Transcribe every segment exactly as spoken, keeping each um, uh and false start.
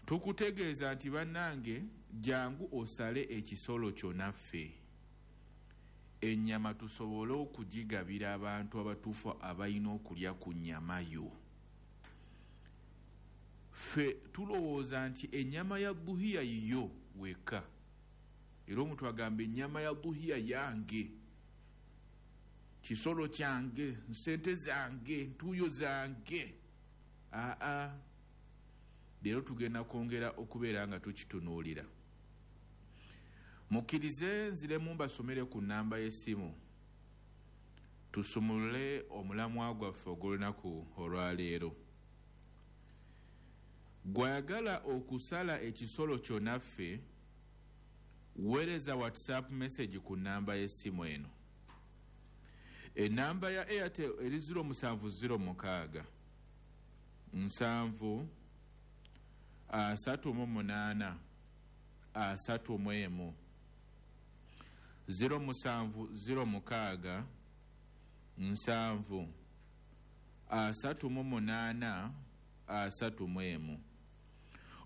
Tukutegeeza nti bannange jangu osale ekisolo kyo naffe, ennyama tusobole okugigabira abantu abatuufu abalina okulya ku nnyama yo. Ffe tulowooza nti ennyama ya duhiya yiyo wekka, era omuntu agamba ennyama ya duhiya yange, kisolo kyange, nsente zange, ntuuyo zange. Aa, leero tugenda kwongera okubeera nga tukitunuulira. Mukkirize nziremu mbasomere ku nnamba y'essimu tusumulule omulamwa gwaffe ogw'olunaku olwaleero. Gwayagala okusala ekisolo kyo naffe, weereza WhatsApp message ku nnamba y'essimu eno. Enamba ya Airtel eri ziro musanvu ziro mukaaga nsanvu asatu mu munaana asatu mu emu, ziro musanvu ziro mukaaga nsanvu asatu mu munaana asatu mu emu,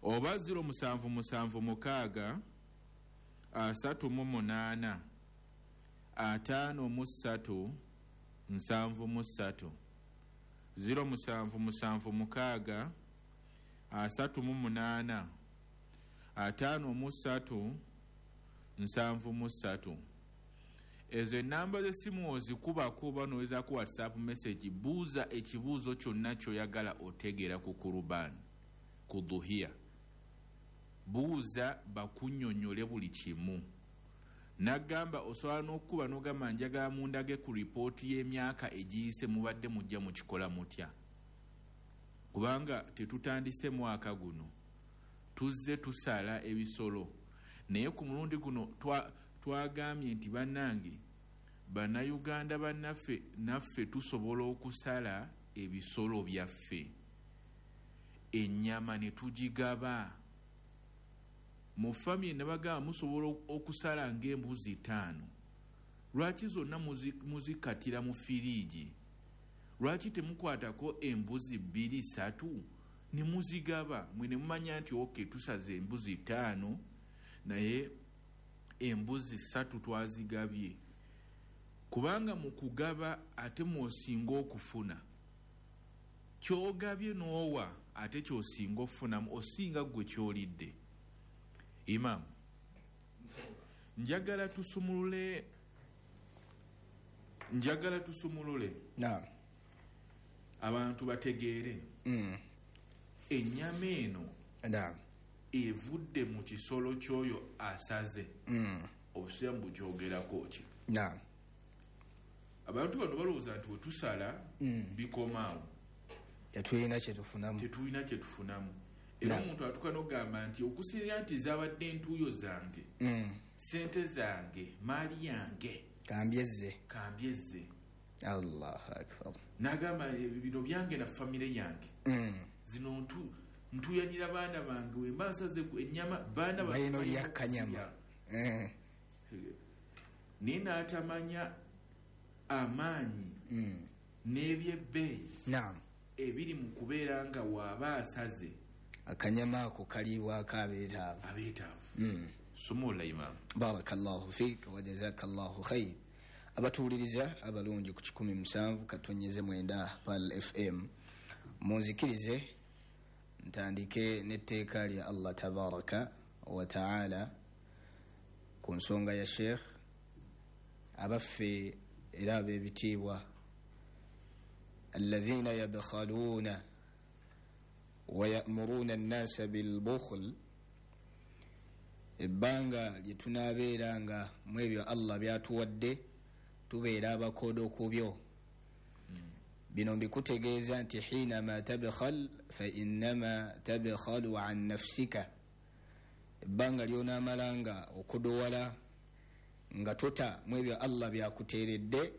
oba ziro musanvu musanvu mukaaga asatu mu munaana ataano mu ssatu nsanvu mu ssatu, ziro musanvu musanvu mukaaga asatu mu munaana ataano mu ssatu nsanvu mu ssatu. Ezo enamba z'essimu ozikubako oba n'owezaako WhatsApp message, buuza ekibuuzo kyonna ky'oyagala otegeera ku kuruban, ku duhiya. Buuza bakunnyonnyole buli kimu. Nagamba osobola n'okukuba n'ogamba njagala mundage ku ripooti y'emyaka egiyise mubadde mujja mukikola mutya, kubanga tetutandise mwaka guno, tuzze tusala ebisolo. Naye ku mulundi guno twagambye nti bannange bannayuganda bannaffe naffe tusobola okusala ebisolo byaffe, ennyama ne tugigaba. Mu famire ne bagamba musobola okusala ng'embuzi ttaano, lwaki zonna muzikatira mu firiigi? Lwaki temukwatako embuzi bbiri ssatu ne muzigaba? Mwe ne mumanya nti okay, tusaze embuzi ttaano naye embuzi ssatu twazigabye. Kubanga mu kugaba ate mw'osinga okufuna, ky'ogabye n'owa ate ky'osinga okufunamu, osinga ggwe ky'olidde. Imam, njagala tusumulule, njagala tusumulule naam, abantu bategeere mm. ennyama eno naam evudde mu kisolo ky'oyo asaze. mm. Obusiraamu bukyogerako ki? Naam. Abantu bano balowooza nti wetusala mm. bikomaawo, tetulina kyetufunamu, tetulina kyetufunamu. Era omuntu atuuka n'ogamba nti okusinziira nti zabadde entuuyo zange, mm. sente zange, maali yange, kambyezze, kambyezze. Allahu akbar. N'agamba bino byange na famire yange, mm. zino ntu ntuyanira baana bange, wemba nsaze ennyama baana balina olya kanyama. Naye n'atamanya amaanyi mm. n'ebyebbeeyi naam ebiri mu kubeera nga waaba asaze akanyama ako kaliibwako abeetaavu, abeetaavu. mm. Sumula Imam. Barakallahu fiik wa jazakallahu khair. Abatuwuliriza abalungi ku kikumi musanvu katonyeze mwenda Pal F M, munzikirize ntandike n'etteeka lya Allah tabaraka wa taala ku nsonga ya Sheikh abaffe era ab'ebitiibwa, alladhina yabkhaluuna wa ya'muruna an-nasa bil-bukhl. Ebbanga lye tunaabeera nga mu ebyo Allah byatuwadde tubeera abakodo ku byo. Bino mbikutegeeza nti hinama tabkhal fa innama tabkhalu an nafsika. Ebbanga lyonaamala nga okodowala nga tota mu ebyo Allah byakuteeredde,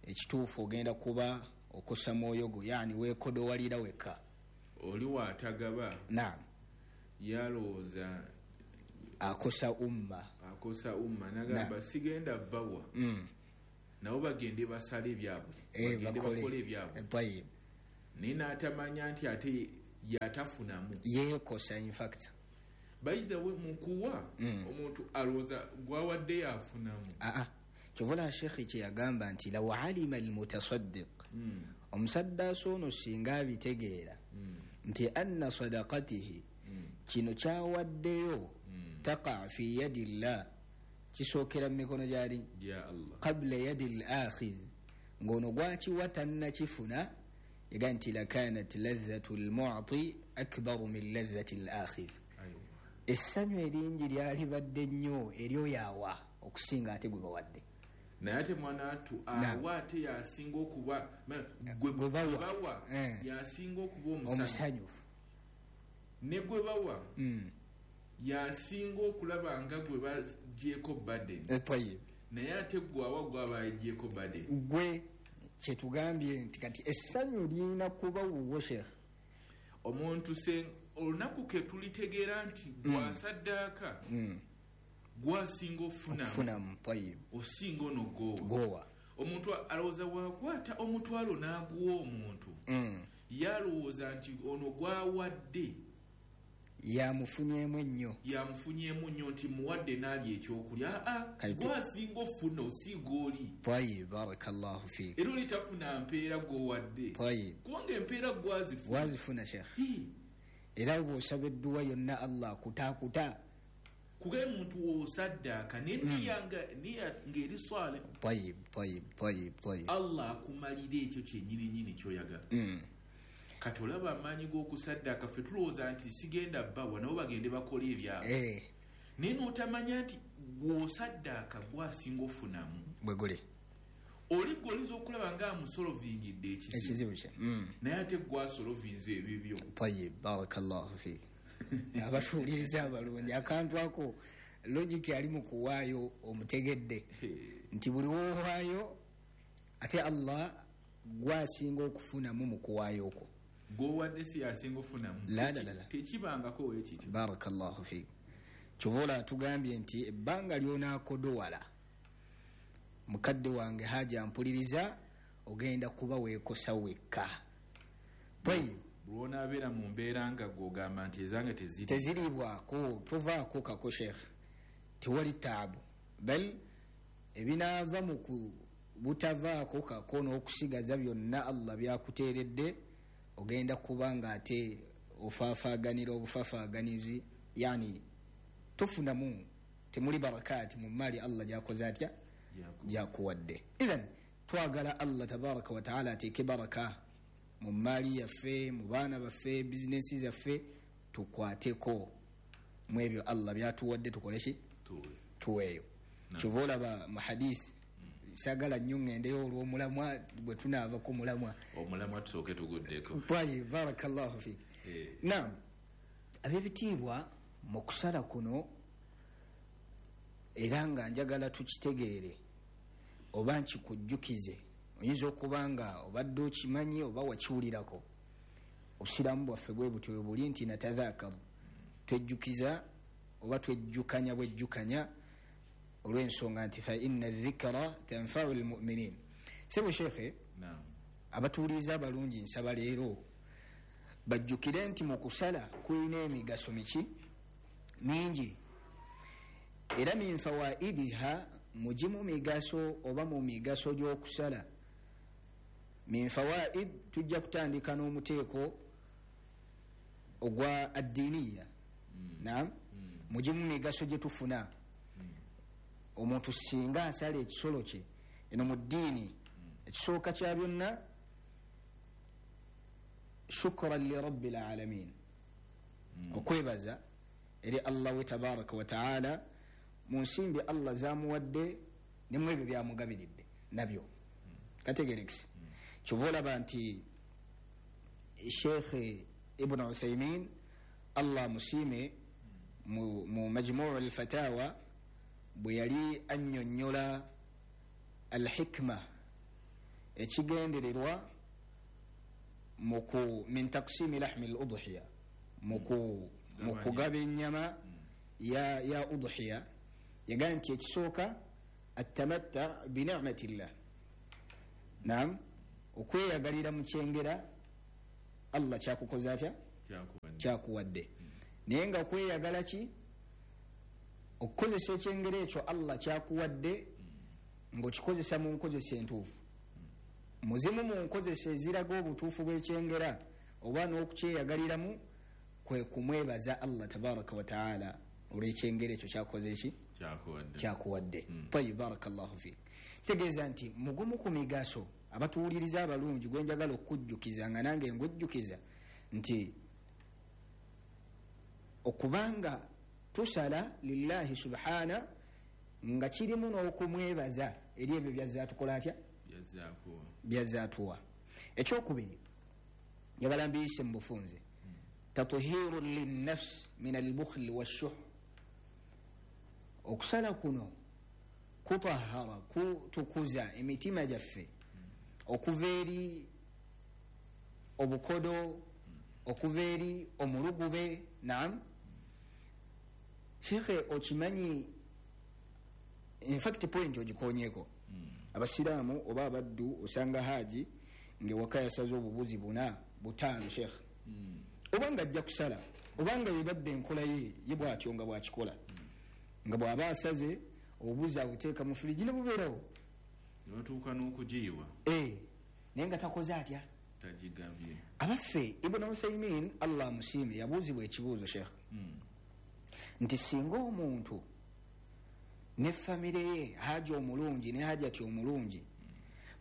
ekituufu ogenda kuba okosa mwoyo gwo, yani weekodowalira wekka. Oli waatagaba naam yalowooza akosa umma, akosa umma, nagamba sigenda bawa mm. nabo bagende basale ebyabwe, eh, bagende bakole ebyabwe. Tayib. Naye n'atamanya nti ate Yatafunamu. Yeekosa in fact. By the way, mukuwa Mm. omuntu alowooza gwawadde yafunamu. Aa, kyovola shekhe kyeyagamba nti law alima almutasaddiq, Mm. omusaddaasi ono singa abitegeera Mm. nti anna sadaqatihi, Mm. kino kyawaddeyo, Mm. taqa fi yadi llah, kisookera mu mikono gyali Ya Allah. Qabla yadi l akhidh, ng'ono gwakiwa tannakifuna, yaga nti lakanat ladhatu lmuti akbaru min ladhati l akhidh. Aiwa. Essanyu eringi lyalibadde nnyo eryoyaawa okusinga ate gwe bawadde. Naye ate mwana atu Na. awa ate yasinga okuba ma- gwe Gwe bawa. gwe bawa Eh. yasinga okuba omusanyufu. Omusanyufu. Ne gwe bawa Mm. yasinga okulaba nga gwe bagyeko burden. Eh, tayib. Naye ate gwe awa gwaba agyeko burden. Gwe kyetugambye nti kati essanyu lirina kuba wuwo, sheekh. Omuntu se olunaku ke tulitegeera nti gwasaddaaka Mm. gwasinga ofunamu, okufunamu, tayib. Osinga ono gowa. Gowa. Omuntu alowooza wakwata omutwalo n'aguwa omuntu, Mm. yalowooza nti ono gwawadde yamufunyemu ennyo. Yamufunyemu nnyo nti muwadde n'alya ekyokulya. Aa, Kati- gwasinga ofuna osiiga oli. Tayib, barakallahu fiik. Era oli tafuna mpeera gwowadde, tayib kubanga empeera gwazifuna. Wazifuna, sheekh. Hii. Era bw'osaba edduwa yonna Allah kutaakuta. Kugaye muntu wosaddaaka neniya nga ng'eri swale, tayib tayib tayib tayib Allah akumalira ekyo kyenyini nyini kyoyagala. Mm. Kati olaba amaanyi g'okusaddaaka, ffe tulowooza nti sigenda bawa, nabo bagende bakole ebyabwe, Eh, naye n'otamanya nti gwosaddaaka gwasinga ofunamu. Bwe guli. Oli gwe oyinza okulaba nga amusolovingidde ekizibu, ekizibu kye. Mm. naye ate gwasolovinze ebibyo. Tayib, barakallahu fiik. Abatuuliriza abalungi, akantu ako logic ali mu kuwaayo omutegedde nti buli woowaayo ate Allah gwasinga okufunamu mu kuwaayo okwo. Gwowadde si yasinga ofunamu. La, la, la, la. Tekibangako wekityo. Barakallahu fiik. Kyova olaba tugambye nti ebbanga lyonakodowala, mukadde wange haja mpuliriza, ogenda kuba weekosa wekka. Tayib. Lwonaabeera mu mbeera nga gwogamba nti ezange teziri, teziriibwako, tovaako kako, sheekh, tewali taabu, bal ebinaava mu ku butavaako kako n'okusigaza byonna Allah byakuteeredde, ogenda kuba nga ate ofaafaaganira obufafaaganizi, yani tofunamu, temuli barakaati mu maali Allah gyakoze atya? Gyaku- Gyakuwadde. Ithan twagala Allah tabaraka wataala ateeke baraka mu maali yaffe, mu baana baffe, bizinensi zaffe, tukwateko mu ebyo Allah byatuwadde, tukoleki? Tuwe. Tuweeyo. Kyova olaba mu hadith, sagala nnyo ŋŋendeyo olw'omulamwa, bwe tunaava ku mulamwa. Omulamwa tusooke tuguddeko. Tayib, barakallahu fik. Eh. Nam, ab'ebitiibwa, mu kusala kuno era nga njagala tukitegeere oba nkikujjukize, oyinza okuba nga obadde okimanyi oba wakiwulirako, obusiraamu bwaffe bwe butyo bwe buli nti natadhakaru, twejjukiza oba twejjukanya bwejjukanya, olw'ensonga nti fa inna dhikra tanfau lmuminin. Sebo shekhe, Naam. abatuuliza abalungi, nsaba leero bajjukire nti mu kusala kulina emigaso miki mingi, era min fawaidiha, mugimu migaso oba mu migaso gy'okusala, min fawaid, tujja kutandika n'omuteeko ogwa addiiniya. Nam, mugimu migaso gye tufuna omuntu singa asala ekisolo kye eno mu ddiini, ekisooka kya byonna, shukran lirabbi lalamin, okwebaza eri Allah we tabaraka wataala mu nsimbi Allah zamuwadde nemu ebyo byamugabiridde nabyo. Kategerekisi, kyova olaba nti Sheikh Ibnu Uthaimin, Allah musiime, mu, mu Majmuu Lfatawa bwe yali annyonnyola alhikma, ekigendererwa muku min taksimi lahmi l udhiya, muku mu kugaba ennyama ya, ya udhiya, yagaa nti ekisooka atamatta binicmati llah, nam, okweyagalira mu kyengera Allah kyakukoze atya? Kyakuwadde. Naye nga kweyagala ki? Okukozesa ekyengera ekyo Allah kyakuwadde ng'okikozesa mu nkozesa entuufu. Muzimu mu nkozesa eziraga obutuufu bw'ekyengera oba n'okukyeyagaliramu kwe kumwebaza Allah tabaraka wa taala olw'ekyengera ekyo kyakoze ki? Kyakuwadde. Tayib, barakallahu fiik. Kitegeeza nti mugumu ku migaso abatuwuliriza abalungi gwe njagala okujjukiza nga nange ngujjukiza nti okubanga tusala lillahi subhana nga kirimu n'okumwebaza eri ebyo byazzaatukola atya? Byazzaatuwa. Ekyokubiri njagala mbiyise mu bufunze, tatuhiru linnafsi min albukhli washuh. Okusala kuno kutahara, kutukuza emitima gyaffe okuva eri obukodo, okuva eri omulugube. Naam shekhe, okimanyi in fact point ogikonyeko, abasiraamu oba abaddu osanga haji ngewaka yasaze obubuzi buna butaano shekhe, oba nga ajja kusala oba nga yebadde enkola ye ye bw'atyo nga bw'akikola, nga bw'aba asaze obubuzi abuteeka mu firiji ne bubeerawo ne batuuka n'okugiyiwa, naye nga takoze atya? Tagigabye. Abaffe Ibn Uthaymin Allah amusiime yabuuzibwa ekibuuzo shekhe nti singa omuntu ne famire ye haji omulungi ne hajati omulungi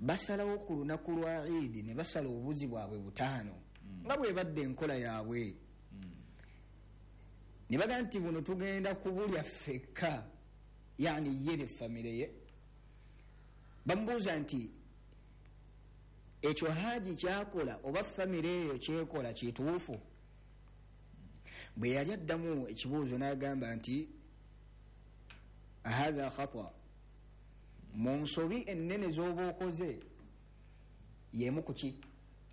basalawo ku lunaku lwa Idi ne basala obubuzi bwabwe butaano nga bwebadde enkola yaabwe, ne baga nti buno tugenda kubulya ffekka, yani ye ne famire ye, bamubuuza nti ekyo haji kyakola oba famire eyo kyekola kituufu? Bwe yali addamu ekibuuzo n'agamba nti hatha khata, mu nsobi ennene z'oba okoze yemu kuki?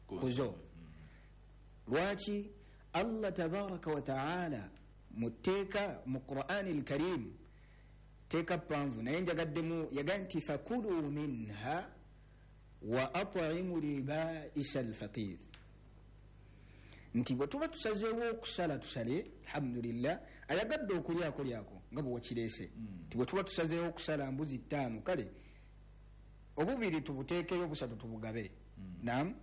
Kuzo. Lwaki? Allah tabaraka wa taala mu tteeka mu Qur'ani al-Karim, tteeka ppanvu naye njagaddemu, yaga nti fakulu minha wa at'imu libaisa al-faqir, nti bwe tuba tusazeewo okusala tusale, alhamdulillah, ayagadde okulyako lyako nga bwe wakireese, nti bwe tuba tusazeewo okusala mbuzi ttaano, kale obubiri tubuteekeyo obusatu tubugabe. Naam,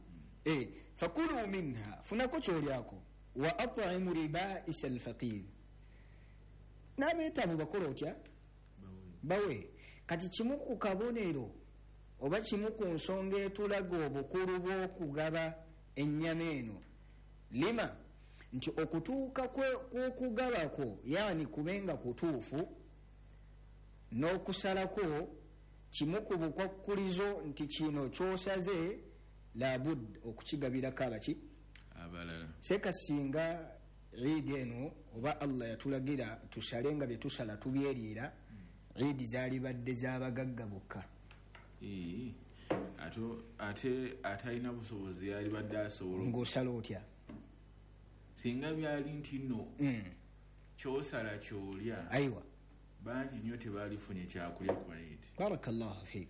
eh fakulu minha, funako kyolyako, wa at'imu libaisa al-faqir, n'abeetaavu bakola otya? Bawe. Kati kimu ku kabonero oba kimu ku nsonga etulaga obukulu bw'okugaba ennyama eno lima nti okutuuka kw'okugabako, yani kubenga kutuufu n'okusalako kimu ku bukwakkulizo nti kino ky'osaze labud okukigabirako abaki? Abalala. Seeka singa Idi eno oba Allah yatulagira tusale nga bye tusala tubyeriira, Idi zaalibadde z'abagagga bokka. Ate atalina busobozi yalibadde asobola ng'osala otya? Singa byali nti nno kyosala kyolya, aiwa, bangi nnyo tebaalifunye kyakulya ku Idi. Barakallahu fiik.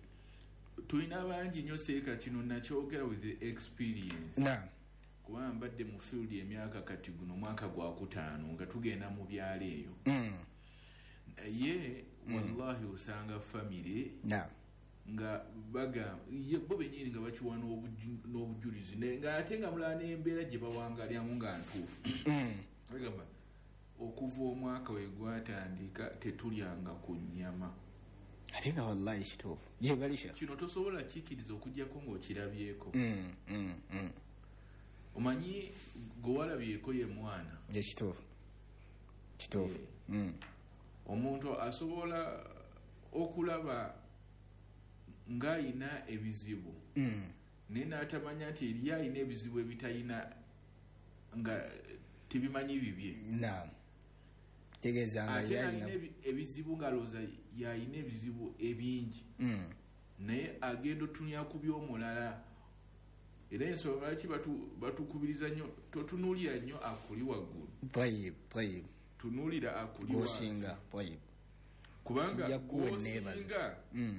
Tulina bangi nnyo seeka, kino nakyogera with the experience. Naam. Kubanga mbadde mu field emyaka kati guno mwaka gwa kutaano nga tugenda mu byalo eyo. Naye wallahi osanga famire nga baga bo bennyini nga bakiwa n'obujulizi, naye ng'ate nga mulala n'embeera gye bawangalyamu nga ntuufu. Bagamba okuva omwaka we gwatandika tetulyanga ku nnyama. Ate nga wallahi kituufu gye bali shekhe. Kino tosobola kikkiriza okuggyako ng'okirabyeko. Omanyi gwe walabyeko ye mwana. Ye kituufu kituufu. Omuntu asobola okulaba ng'ayina ebizibu naye n'atamanya nti eri ayina ebizibu ebitayina nga tebimanyi bibye. Naam. Tegeeza nga ate alina ebizibu ng'alowooza y'ayina ebizibu ebingi, naye agenda otunuulira ku by'omulala. Era ensonga lwaki batukubiriza nnyo, totunuulira nnyo akuli waggulu. Tayib, tayib. Tunuulira akuli wansi. Tayib. Kubanga gw'osinga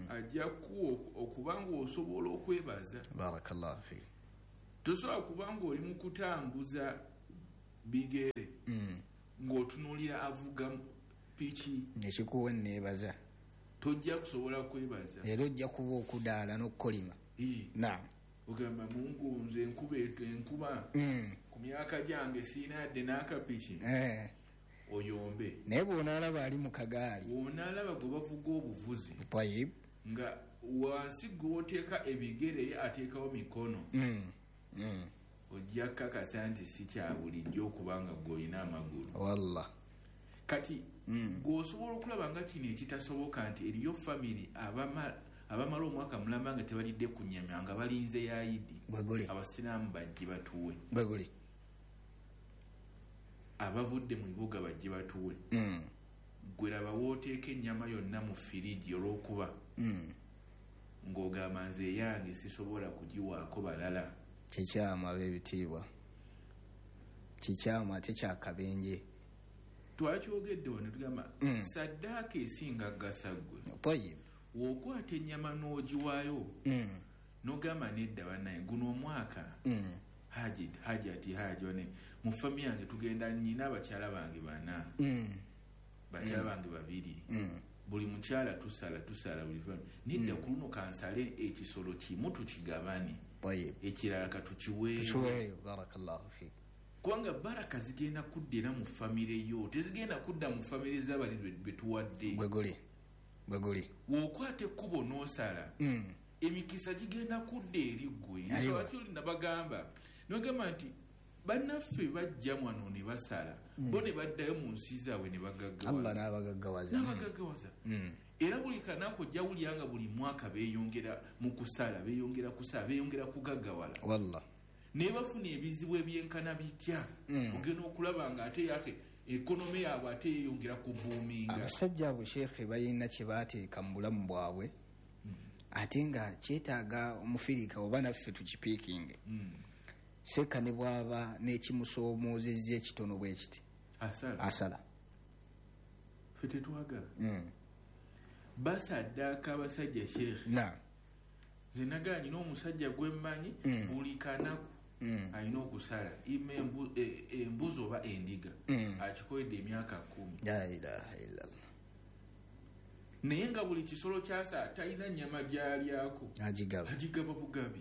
ajja kuwa okubanga osobola okwebaza. Barakallahu fiik. Tosobola kubanga oli mu kutambuza Bigere Mm. ng'otunuulira avuga piki Nekikuwa neebaza. Tojja kusobola kwebaza. Era ojja kuba okudaala n'okukolima. Ii. Naam. Ogamba Mungu nze enkuba etu enkuba Mm. ku myaka gyange siina yadde n'akapiki. Eh. Oyombe. Naye bw'onaalaba ali mu kagaali. Bw'onaalaba gwe bavuga obuvuzi. Tayib. Nga wansi gw'oteeka ebigere ye ateekawo mikono. Mm. Mm. Ojja kukakasa nti si kya bulijjo okubanga ggwe olina amagulu. Wallah. Kati Mm. gw'osobola okulaba nga kino ekitasoboka nti eriyo family abama-, abamala omwaka mulamba nga tebalidde ku nnyama nga balinze ya Idi. Bwe guli. Abasiraamu bajje batuwe. Bwe guli. Abavudde mu bibuga bajje batuwe. Mm. Ggwe laba w'oteeka ennyama yonna mu firiji olw'okuba Mm. ng'ogamba nze eyange sisobola kugiwaako balala. Kikyamu ab'ebitiibwa. Kikyamu ate kya kabenje. Twakyogedde wano tugamba Mm. saddaaka esinga ggasa ggwe. Tayib. W'okwata ennyama n'ogiwaayo, Mm. n'ogamba nedda bannaye guno omwaka Mm. Haji, Haji ati Haji wane mu fami yange tugenda nnyina abakyala bange bana. Mm. Bakyala Mm. bange babiri. Mm. Buli mukyala tusala, tusala buli fami. Nedda Mm. ku luno kansale ekisolo kimu tukigabane. Tayib. Ekirala katukiweeyo. Tukiweeyo, barakallahu fiik. Kubanga baraka zigenda kudda era mu famire yo, tezigenda kudda mu famire z'abali be, be tuwadde. Bwe guli. Bwe guli. W'okwata ekkubo n'osala, Mm. emikisa gigenda kudda eri ggwe. Ayiwa. Lwaki oli nabagamba? Nabagamba nti bannaffe bajja wano ne basala, Mm. bo ne baddayo mu nsi zaabwe ne bagaggawaza. Allah n'abagaggawaza. N'abagaggawaza. Mm. Era buli kanaku ojja wulira nga buli mwaka beeyongera mu kusala, beeyongera kusala, beeyongera kugaggawala. Wallah. Naye bafuna ebizibu ebyenkana bitya? Mm. Ogenda okulaba nga ate yake ekonome yaabwe ate yeeyongera kubuuminga. Abasajja abo sheekhe balina kye baateeka mu bulamu bwabwe, Mm. ate nga kyetaaga omufirika oba naffe tukipiikinge. Mm. Seeka ne bw'aba n'ekimusoomoozezza ekitono bwe kiti. Asala. Asala. Ffe tetwagala. Mm. Basaddaaka abasajja sheekhe. Naam. Nze nagaanyi n'omusajja gwe mmanyi Mm. buli kanaku Mm. alina okusala ima embu-, e-, embuzi oba endiga. Mm. Akikoledde emyaka kkumi. La ilaha illallah. Naye nga buli kisolo kyasa talina nnyama gy'alyako. Agigaba. Agigaba bugabi.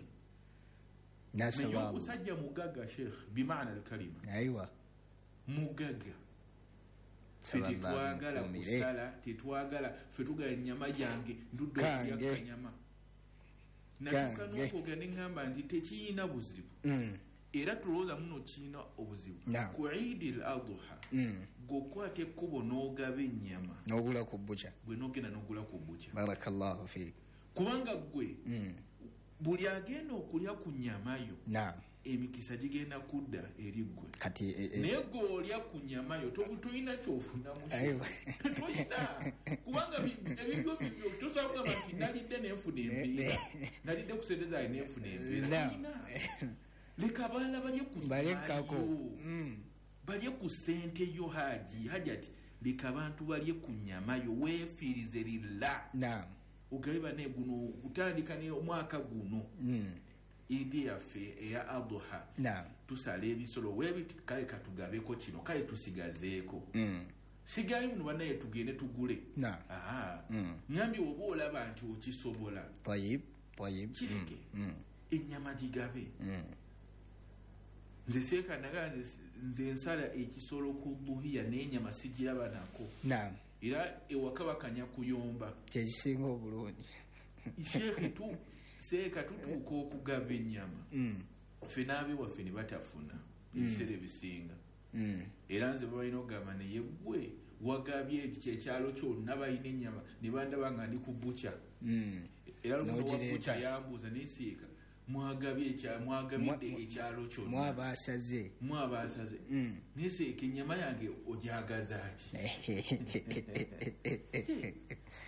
Nasaba Naye Allah. omusajja mugagga sheekh, bimaana al-kalima. Aiwa. Mugagga. Ffe Saba Allah tetwagala amukuumire. kusala, tetwagala, ffe tugala ennyama yange, ndudde okulya Kange. kanyama. Natuuka Kange. n'okwogera ne ŋŋamba nti tekiyina buzibu. Mm. Era tulowooza muno kirina obuzibu. Naam. Ku Eid al-Adha, Mm. gw'okwata ekkubo n'ogaba ennyama. N'ogula ku bbuca. Gwe n'ogenda n'ogula ku bbuca. Barakallahu fiik. Kubanga ggwe, Mm. buli agenda okulya ku nnyama yo, Naam. emikisa gigenda kudda eri ggwe. Kati, e, e, Naye ggwe olya ku nnyama yo, to-, toyina ky'ofunamu kyo. Aiwa. Toyina. Kubanga bi-, ebibyo bibyo, tosobola kugamba nti nalidde ne nfuna empeera. Eh, Nalidde ku ssente zange ne nfuna empeera. Naam. Toyina. Leka abalala balye ku Balekako. yo. Mm. Balye ku ssente yo, Haji. Haji ati, leka abantu balye ku nnyama yo, weefiirize lilla. Naam. Ogabe banne guno, kutandika ne omwaka guno. Mm. Idi yaffe eya Adha. Naam. Tusala ebisolo webiti, kale katugabeko kino, kale tusigazeeko. Mm. Sigayo muno bannaye tugende tugule. Naam. Aha. Mm. Ngambye oba olaba nti okisobola. Tayib, tayib. Kireke. Mm. Mm. Ennyama gigabe. Mm. Nze seeka naga nze, nze nsala ekisolo ku buhiya n'ennyama sigiraba nako. Naam. Era ewaka bakanya kuyomba. Kye kisinga obulungi. Sheikh tu seeka tutuuka okugaba ennyama. Mm. Ffe n'abewaffe ne batafuna Mm. ebiseera ebisinga. Mm. Era nze balina okugamba naye ggwe wagabye ekyo ekyalo kyonna balina ennyama ne bandaba nga ndi ku bbuca. Mm. Era lumu N'ogireeta. owa bbuca yambuuza naye seeka mwagabye ekya-, mwagabidde Mwa-, ekyalo kyonna. Mwabaasaze. Mwabaasaze. Mm. Naye seeka ennyama yange ogyagaza ki?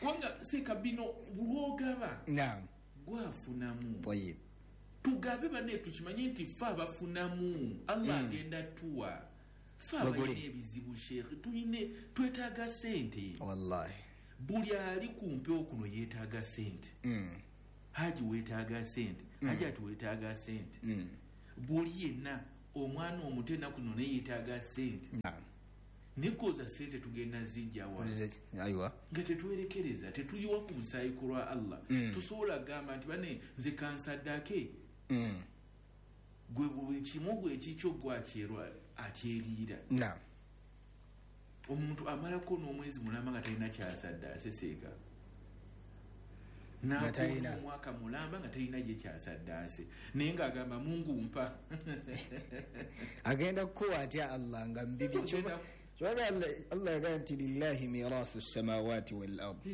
Kubanga seeka bino bw'ogaba. Naam. Gwafunamu. Tayib. Tugabe banne tukimanye nti ffe abafunamu. Allah Mm. agenda tuwa. Ffe Bagule. abalina ebizibu Sheikh, tuline twetaaga ssente. Wallahi. Buli ali ku mpewo kuno yeetaaga ssente. Mm. Haji weetaaga ssente. Mm. Haji ati weetaaga ssente. Mm. Buli yenna Omwana omuto ennaku zino naye yeetaaga ssente. Nekoza ssente tugenda zijjawa. Nga tetwerekereza, tetuyiwa ku musaayi ku lwa Allah. Mm. Tusobola gamba nti bane nze kansaddake. Mm. Gwe buli kimu gwe ekikyo gwakyerwa akyeriira. Naam. Omuntu amalako n'omwezi mulamba nga talina kyasaddaase seeka. N'akoona omwaka mulamba nga talina gye kyasaddaase. Naye ng'agamba Mungu mpa. Agenda kukuwa atya Allah nga mbibi. Kyova Allah yagamba nti lillahi mirathu samawati wal ard.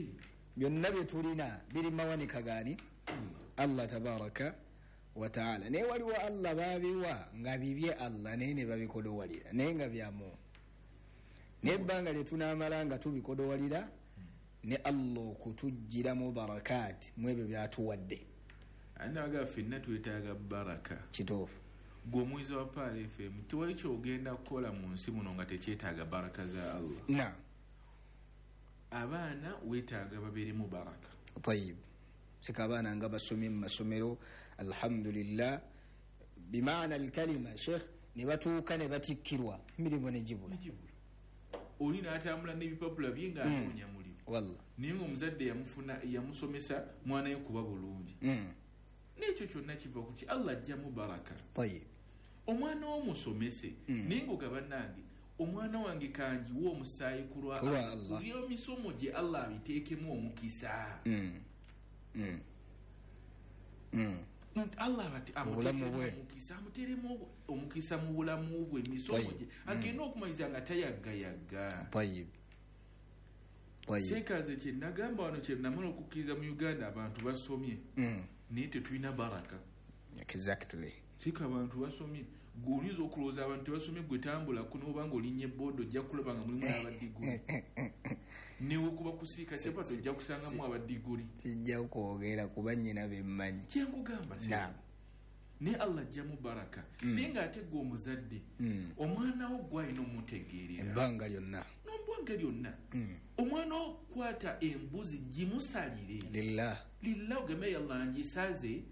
Byonna bye tulina biri mawanika gaani? Allah tabaraka wa taala. Naye waliwo Allah babiwa nga bibye Allah naye ne babikodowalira naye nga byamu. Naye ebbanga lye tunaamala nga tubikodowalira ne Allah okutuggyiramu barakaati mu ebyo by'atuwadde. Anaga ffenna twetaaga baraka. Kituufu. Gwe omwizi wa Pearl F M tewali ky'ogenda kukola mu nsi muno nga tekyetaaga baraka za Allah. Naam. Abaana weetaaga babeeremu baraka. Tayib. Sika abaana nga basomye mu masomero alhamdulillah bimaana alkalima sheikh ne batuuka ne batikkirwa emirimu ne gibula. Oli n'atambula n'ebipapula bye ng'anoonya mulimu. Wallah. Naye ng'omuzadde yamufuna yamusomesa mwana we kuba bulungi. Mm. N'ekyo kyonna kiva ku ki Allah ajjamu baraka. Tayib. Omwana w'omusomese mm. naye ng'ogaba nange omwana wange kangiwe omusaayi ku lwa Allah. Ku emisomo gye Allah abiteekemu omukisa. Mm. Mm. Mm. Allah amuteekemu omukisa, amuteeremu omukisa mu bulamu bwe emisomo gye agenda okumaliza nga tayaggayagga. Tayib. Tayib. Seekaze kye nagamba wano kye namala okukkiriza mu Uganda abantu basomye. Mm. Naye tetulina baraka. Exactly. Sika abantu basomye gwe oyinza okulowooza abantu tebasomye gwe tambulako n'oba ng'olinnya ebooda ojja kulaba nga mulimu n'abaddiguli. Newe kuba kusiika kyapati ojja kusangamu abaddiguli. Sijja kwogera kuba nnyina be mmanyi. Kye nkugamba Naam. Naye Allah ajjamu baraka. Naye ng'ate gwe omuzadde omwana wo gw'alina omutegeerera. Ebbanga lyonna. N'ebbanga lyonna. Omwana wo kwata embuzi gimusalire. Lillah. Lillah ogambe yallah ngisaze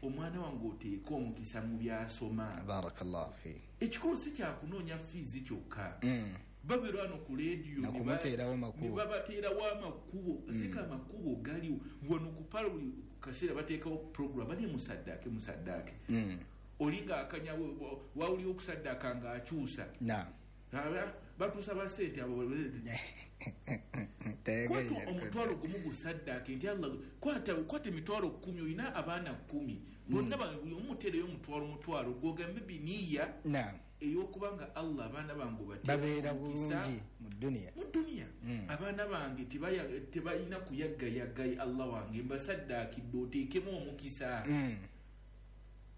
omwana wange oteeke omukisa mu by'asoma. Barakallahu fi. Ekikulu si kyakunoonya fiizi kyokka. Babeera wano ku leediyo ne babateerawo amakubo. Sika amakubo galiwo. Wano ku Pearl buli kaseera bateekawo program bali musaddaake musaddaake. Oli ng'akanya wawulira okusaddaaka ng'akyusa. Naam. Batuusaba ssente abo. Kwata omutwalo gumu gusaddaake nti Allah kwata kwata emitwalo kkumi olina abaana kkumi. Bonna buli omu muteereyo omutwalo mutwalo gw'ogambe biniya. Naam. Ey'okubanga Allah abaana bange babeera bulungi mu dduniya. Mu dduniya. Abaana bange tebalina kuyaggayagga Allah wange mbasaddaakidde oteekemu omukisa.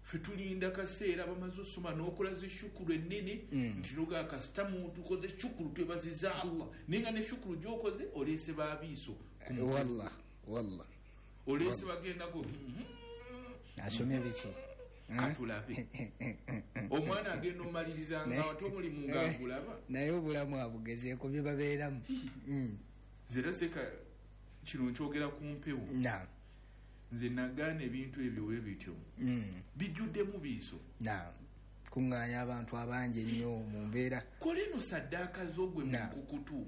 Ffe tulinda kaseera bamaze osoma n'okola zi shukuru ennene nti noga kasitamu tukoze shukuru twebaziza Allah naye nga ne shukuru gy'okoze oleese baabiiso. Wallah wallah. Oleese bagendako asomye biki? Katulabe. Omwana agenda omaliriza nga ate omulimu ng'agulaba. Naye obulamu abugezeeko bye babeeramu. Nze era seeka kino nkyogera ku mpewo. Naam. Nze nagaana ebintu ebyo bwe bityo. Bijjuddemu biiso. Naam. Kuŋŋaanya abantu abangi ennyo mu mbeera. Kola eno saddaaka zo gwe mu nkukutu.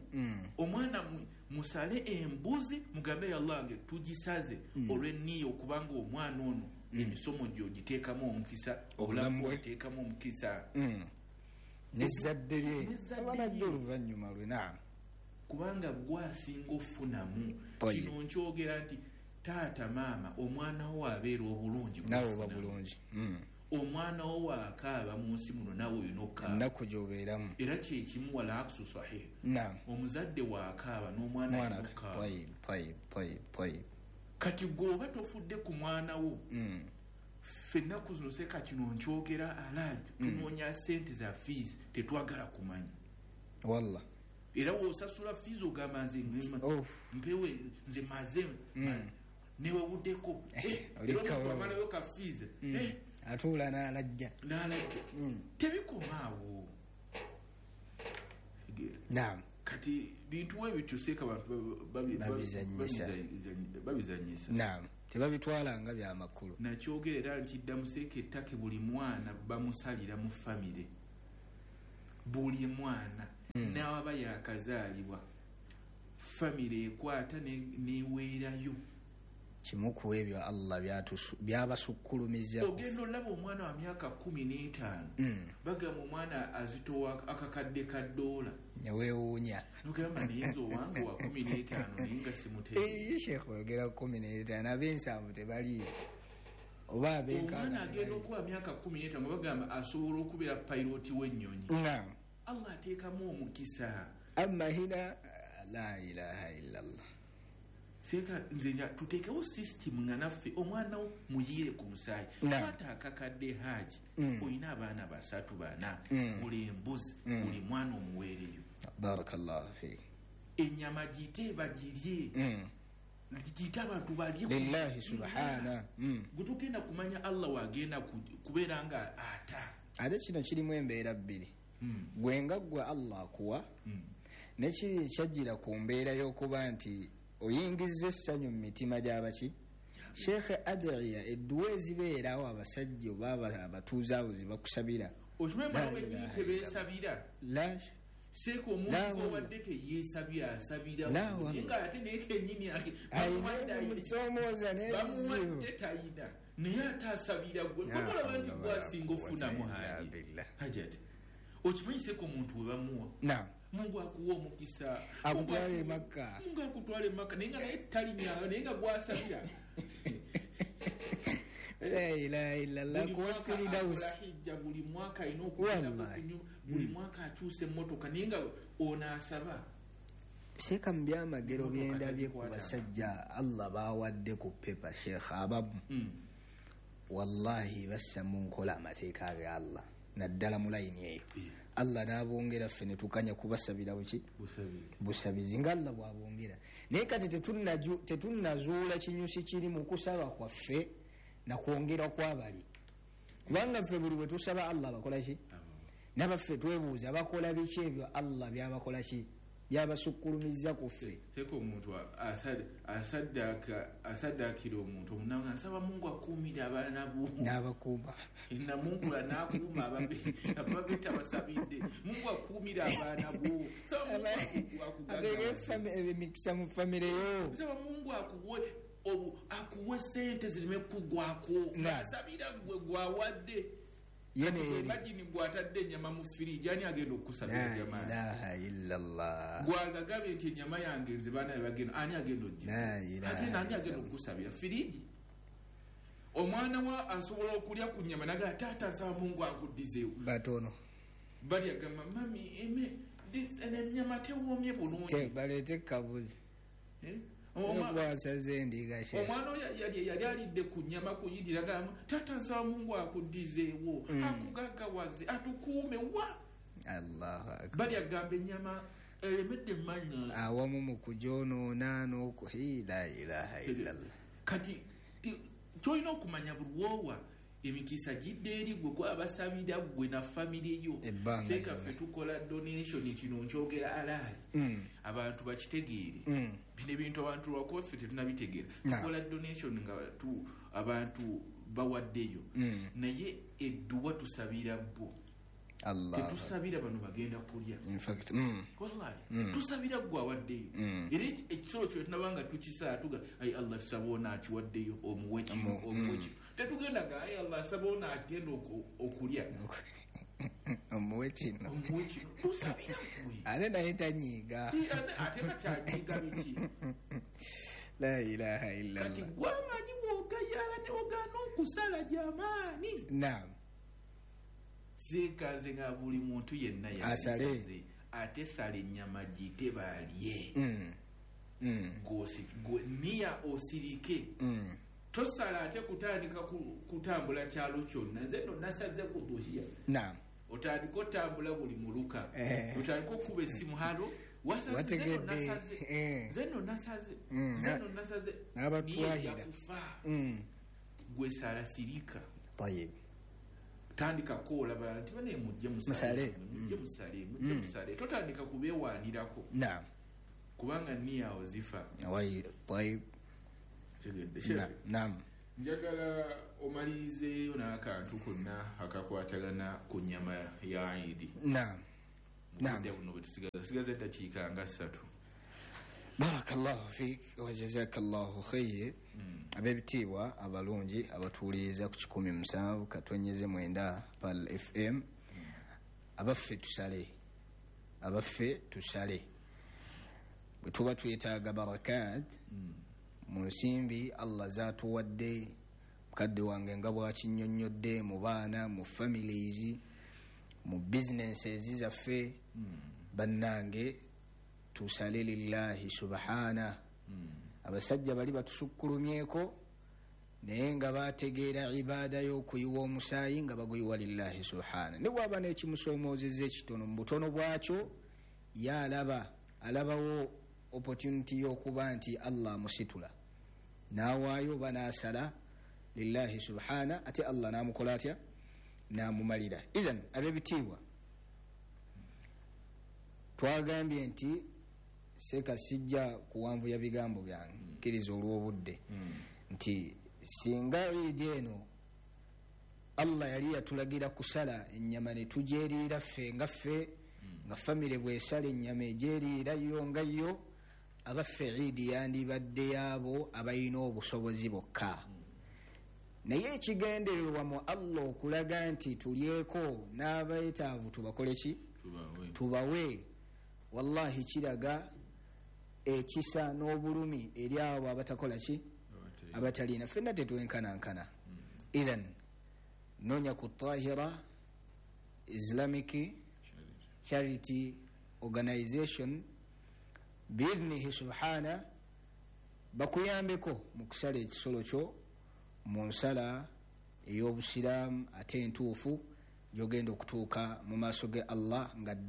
Omwana musale embuzi mugambe yallah nge tugisaze olw'enniya okubanga omwana ono emisomo gyo ogiteekamu omukisa, obulamu bw'oteekamu omukisa. N'ezzadde lye abanajja oluvannyuma lwe. Naam. Kubanga gw'asinga ofunamu. Kino nkyogera nti taata maama omwana wo abeera obulungi naawe oba bulungi. Omwana wo waakaaba mu nsi muno naawe olina okukaaba. Ennaku gy'obeeramu. Era kye kimu wala aksu sahih. Naam. Omuzadde waakaaba n'omwana alina okukaaba. Tayib tayib tayib tayib. Kati gwe oba tofudde ku mwana wo. Ffe ennaku zino seeka kino nkyogera alaali tunoonya ssente za fees tetwagala kumanya. Wallah. Era w'osasula fees ogamba nze mpewe nze maze newewuddeko. Era omuntu amalayo ka fees. Atuula n'alajja. N'alajja. Tebikoma awo. Naam. Kati bintu we bityo seeka abantu babizannyisa. Naam. Tebabitwala nga bya makulu. Nakyogera era nkiddamu seeka ettake buli mwana bamusalira mu famire. Buli mwana mm. n'awaba yakazaalibwa famire ekwata neweerayo kimu ku ebyo Allah byabasukkulumiza. Ogenda olaba omwana wa myaka kumi n'etaano mm. bagamba omwana azitowa akakadde ka ddoola neweewuunya nogamba naye nze owange wa kumi n'etaano naye nga simutegeera. Sheikh oyogera kumi n'etaano ab'ensanvu tebaliyo oba ab'enkaaga. Omwana agenda okuba myaka kumi n'etaano nga bagamba asobola okubeera payiroti w'ennyonyi. Naam. Allah ateekamu omukisa. Amma hina la ilaha illallah. Seka nze tuteekewo system nga naffe omwana wo muyiire ku musaayi. Kwata akakadde haji mm. oyina abaana basatu bana mm. gula embuzi mm. buli mwana omuweereyo. Barakallahu fiik. Ennyama giyite bagirye mm. giyite abantu balye lillahi subhana. mm. Gwe tugenda kumanya Allah wagenda kubeera nga ata. Ate kino kirimu embeera bbiri. mm. Gwe nga ggwe Allah akuwa mm. nekiri ekyajjira ku mbeera y'okuba nti oyingiza essanyu mu mitima gy'abaki. Sheikh Adriya edduwa ezibeerawo abasajja oba abatuuze abo zibakusabira. Okimanyi mwana wennyini tebeesabira. Seeka omuntu owadde teyeesabira asabira nga ate naye kennyini bamusoomooza n'ebizibu tayina naye ate asabira gwe olaba nti gwasinga ofunamu haji hajati. Okimanyi seeka omuntu we bamuwa Mungu akuwa omukisa akutwale Makka. Mungu akutwale Makka naye nga naye talinyayo naye nga gwasabira. La ilaha illallah kuwa Firdaus. Buli mwaka alina okuyitako kunyuma buli mwaka akyusa emmotoka naye nga ono asaba. Sheikh mu byamagero byendabye ku basajja Allah bawadde ku pepa Sheikh abamu mm. wallahi bassa mu nkola amateeka ga Allah naddala mu layini eyo. Allah n'abongera ffe ne tukanya kubasabira buki busabizi nga Allah bw'abongera. Naye kati tetunnazuula kinyusi kiri mu kusaba kwaffe na kwongera kw'abali, kubanga ffe buli bwe tusaba Allah bakola ki nabaffe twebuuza bakola biki ebyo Allah byabakola ki byabasukkulumiza ku ffe. Seko omuntu asaddaakira omuntu omunanga nsaba Mungu akuumire abaana bo n'abakuuma namunkula n'akuuma ababe tabasabidde. Mungu akuumire abaana bo. Nsaba Mungu akugagawaze emikisa mu famire yo. Nsaba Mungu akuwe akuwe sente zireme kugwako. Asabira gwe gwawadde. Imagine gwatadde ennyama mu firiji ani agenda okukusabira jamaani? La ilaha illallah. Gwagagambye nti ennyama yange nze baana be bagenda ani agenda ogirya? Ate ani agenda okukusabira firiji? Omwana wa asobola okulya ku nnyama nagala taata nsaba Mungu akuddizeewo. Batono bali agamba mami eme ennyama tewoomye bulungi baleete kabuli. Eh? Omwana oyo yali alidde ku nnyama kuyidira gamba taata nsaba Mungu akuddizeewo mm. akugaggawaze atukuume wa Allahu akbar. Bali agamba ennyama eremedde mmanya awamu mu kugyonoona n'oku la ilaha illallah. Kati kyolina okumanya buli woowa emikisa gidde eri gwe gwabasabira gwe na famire yo. Seeka ffe tukola donation kino nkyogera alaali mm. abantu bakitegeere mm. bino ebintu abantu lwakuba ffe tetunabitegeera. Tukola donation nga tu abantu bawaddeyo mm. naye edduwa tusabira bo. Tetusabira bano bagenda kulya. In fact, mm. Wallahi mm. tusabira gwe awaddeyo mm. era ekisolo kyo tunabanga tukisaa tuga ai Allah tusaba ono akiwaddeyo omuwe kino omuwe kino. Tetugenda ga ai Allah asaba ono agenda okulya omuwe kino omuwe kino tusabira gwe ate naye tanyiiga ate kati anyiiga biki? La ilaha illallah. Kati gwamanyi bw'ogayaala ne ogaana okusala jamaani. Naam. Seeka nze nga buli muntu yenna asale ate sala ennyama giyite balye. Mm. Mm. Niya osirike mm. tosala ate kutandika kutambula kyalo kyonna. Nze nno nasaze kuduhiya. Naam. Otandika otambula buli muluka eh. otandika okuba essimu halo wasaze nze nno nasaze nze nno nasaze nze nno nasaze n'abatwahira gwe sala sirika. Tayib. Tandika kola balala nti bane mujje musale mujje musale mujje musale totandika kubeewaanirako. Naam. Kubanga niya awo zifa. Tayib. Naam. Njagala omalirizeeyo n'akantu konna akakwatagana ku nnyama ya Idi. Naam. Mubudde buno bwetusigaza tusigaza eddakiika nga ssatu. Barakallahu fik wa jazakallahu khayr. Ab'ebitiibwa abalungi abatuwuliriza ku kikumi musanvu katonyeze mwenda Pal F M, abaffe tusale, abaffe tusale. Bwe tuba twetaaga barakat mu nsimbi Allah zatuwadde, mukadde wange nga bw'akinnyonnyodde, mu baana, mu families, mu businesses zaffe, bannange tusale lillahi subhana. Abasajja bali batusukkulumyeko naye nga bategeera ibaada y'okuyiwa omusaayi nga baguyiwa lillahi subhana. Ne bw'aba n'ekimusoomoozezza ekitono mu butono bwakyo, ye alaba alabawo opportunity y'okuba nti Allah amusitula n'awaayo oba n'asala lillahi subhana, ate Allah n'amukola atya? N'amumalira. Idhan ab'ebitiibwa, twagambye nti seeka sijja kuwanvuya bigambo byange, kkiriza olw'obudde, nti singa Eid eno Allah yali yatulagira kusala ennyama ne tugyeriira ffe nga ffe, nga famire bw'esala ennyama egyeriira yo nga yo, abaffe Eid yandibadde yaabo abalina obusobozi bokka. Naye ekigendererwa mu Allah okulaga nti tulyeko n'abeetaavu tubakole ki? Tubawe. Wallahi kiraga ekisa n'obulumi eri abo abatakola ki? Abatalina. Ffenna tetwenkanankana. Idhan noonya ku Tahira Islamic Charity Organization biidhnihi subhana, bakuyambeko mu kusala ekisolo kyo mu nsala ey'obusiraamu ate entuufu gy'ogenda okutuuka mu maaso ge Allah nga ddala.